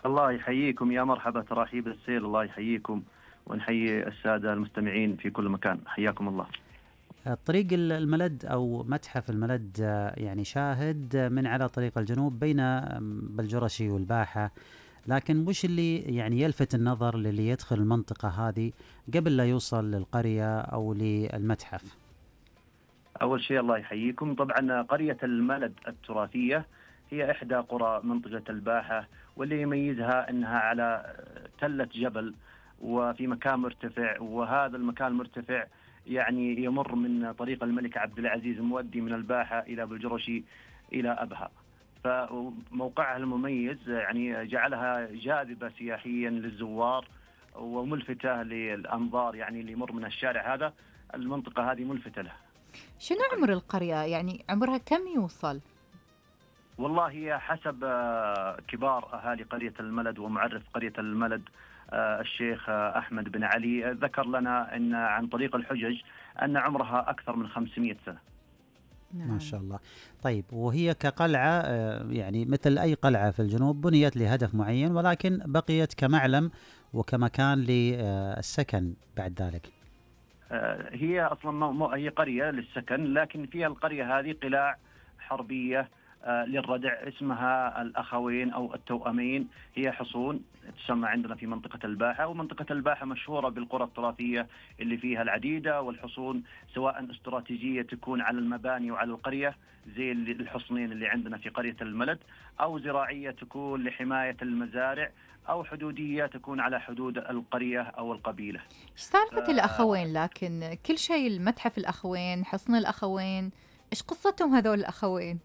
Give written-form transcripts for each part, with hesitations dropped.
الله يحييكم، يا مرحبا، تراحيب السيل، الله يحييكم ونحيي السادة المستمعين في كل مكان، حياكم الله. طريق الملد أو متحف الملد يعني شاهد من على طريق الجنوب بين بلجرشي والباحة، لكن وش اللي يعني يلفت النظر للي يدخل المنطقة هذه قبل لا يوصل للقرية أو للمتحف؟ أول شيء الله يحييكم، طبعا قرية الملد التراثية هي إحدى قرى منطقة الباحة، واللي يميزها أنها على تلة جبل وفي مكان مرتفع، وهذا المكان المرتفع يعني يمر من طريق الملك عبد العزيز المؤدي من الباحة إلى بلجرشي إلى أبها. فموقعها المميز يعني جعلها جاذبة سياحيا للزوار وملفتة للأنظار، يعني اللي يمر من الشارع هذا المنطقة هذه ملفتة له. شنو عمر القرية؟ يعني عمرها كم يوصل؟ والله هي حسب كبار أهالي قرية الملد ومعرف قرية الملد الشيخ أحمد بن علي ذكر لنا أن عن طريق الحجج أن عمرها أكثر من 500 سنة. ما شاء الله. طيب، وهي كقلعة يعني مثل أي قلعة في الجنوب بنيت لهدف معين، ولكن بقيت كمعلم وكمكان للسكن بعد ذلك. هي أصلا هي قرية للسكن، لكن فيها القرية هذه قلاع حربية للردع اسمها الأخوين أو التوأمين، هي حصون تسمى عندنا في منطقة الباحة. ومنطقة الباحة مشهورة بالقرى التراثية اللي فيها العديدة والحصون، سواء استراتيجية تكون على المباني وعلى القرية زي الحصنين اللي عندنا في قرية الملد، أو زراعية تكون لحماية المزارع، أو حدودية تكون على حدود القرية أو القبيلة. إيش سالفة الأخوين؟ لكن كل شيء المتحف الأخوين، حصن الأخوين، إيش قصتهم هذول الأخوين؟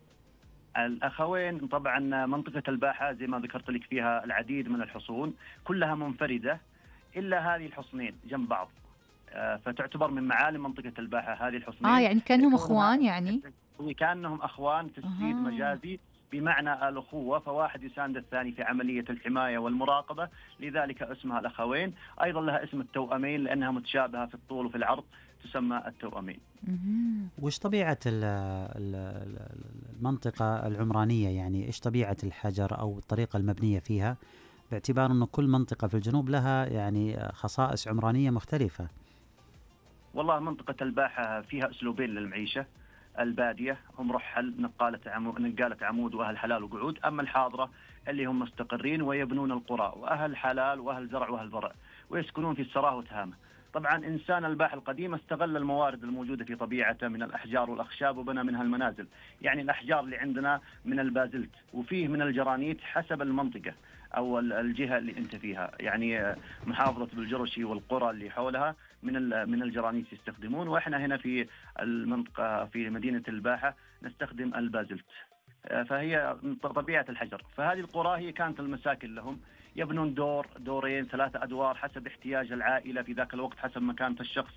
الأخوين طبعا منطقة الباحة زي ما ذكرت لك فيها العديد من الحصون كلها منفردة إلا هذه الحصنين جنب بعض، فتعتبر من معالم منطقة الباحة هذه الحصنين. يعني كانهم أخوان؟ يعني كانهم أخوان تجسيد مجازي بمعنى الأخوة، فواحد يساند الثاني في عملية الحماية والمراقبة، لذلك اسمها الأخوين. أيضا لها اسم التوأمين لأنها متشابهة في الطول وفي العرض، تسمى التوأمين. وش طبيعة المنطقة العمرانية؟ يعني إيش طبيعة الحجر أو الطريقة المبنية فيها، باعتبار أنه كل منطقة في الجنوب لها يعني خصائص عمرانية مختلفة؟ والله منطقة الباحة فيها أسلوبين للمعيشة، البادية هم رحل نقالة عمود وأهل حلال وقعود، أما الحاضرة اللي هم مستقرين ويبنون القرى وأهل حلال وأهل زرع وأهل ضرع ويسكنون في السراه وتهامة. طبعا إنسان الباحة القديم استغل الموارد الموجودة في طبيعته من الأحجار والأخشاب وبنى منها المنازل. يعني الأحجار اللي عندنا من البازلت، وفيه من الجرانيت حسب المنطقة أو الجهة اللي أنت فيها. يعني محافظة بلجرشي والقرى اللي حولها من الجرانيت يستخدمون، وإحنا هنا في المنطقة في مدينة الباحة نستخدم البازلت. فهي طبيعة الحجر. فهذه القرى هي كانت المساكن لهم، يبنون دور دورين 3 أدوار حسب احتياج العائلة في ذاك الوقت، حسب مكانة الشخص.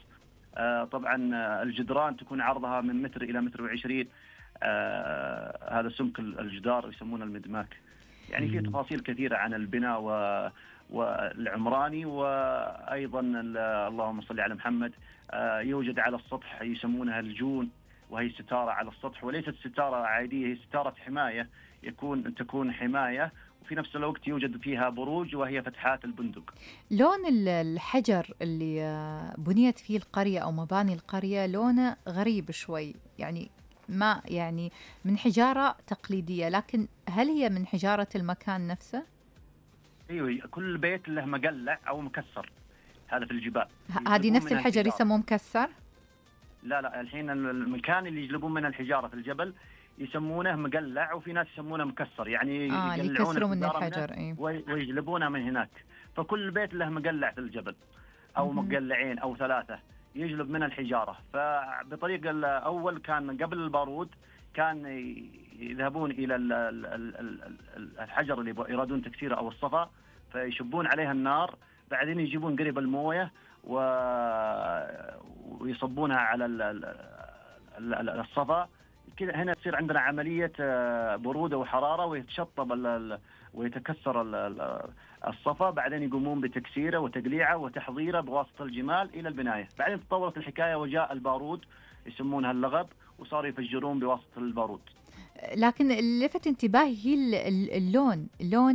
طبعا الجدران تكون عرضها من متر إلى 1.20 متر، هذا سمك الجدار يسمونه المدماك. يعني في تفاصيل كثيرة عن البناء والعمراني. وأيضا اللهم صل على محمد، يوجد على السطح يسمونها الجون، وهي ستارة على السطح، وليست ستارة عادية، هي ستارة حماية، تكون حماية، وفي نفس الوقت يوجد فيها بروج وهي فتحات البندق. لون الحجر اللي بنيت فيه القرية أو مباني القرية لونه غريب شوي، يعني ما يعني من حجارة تقليدية، لكن هل هي من حجارة المكان نفسه؟ ايوه، كل بيت له مقلع او مكسر، هذا في الجبال. هذه نفس الحجر يسموه مكسر؟ لا الحين المكان اللي يجلبون من الحجارة في الجبل يسمونه مقلع، وفي ناس يسمونه مكسر، يعني يكسروا من الحجر ويجلبونه من هناك. فكل بيت له مقلع في الجبل او مقلعين او 3 يجلب من الحجارة. فبطريقة الأول كان قبل البارود كان يذهبون إلى الحجر اللي يرادون تكسيره أو الصفا، فيشبون عليها النار، بعدين يجيبون قريب الموية ويصبونها على الصفا كذا. هنا تصير عندنا عملية برودة وحرارة، ويتشطب ويتكسر الصفا، بعدين يقومون بتكسيره وتقليعه وتحضيره بواسطة الجمال إلى البناية. بعدين تطورت الحكاية وجاء البارود يسمونها اللغب، وصاروا يفجرون بواسطة البارود. لكن اللي لفت انتباهي هي اللون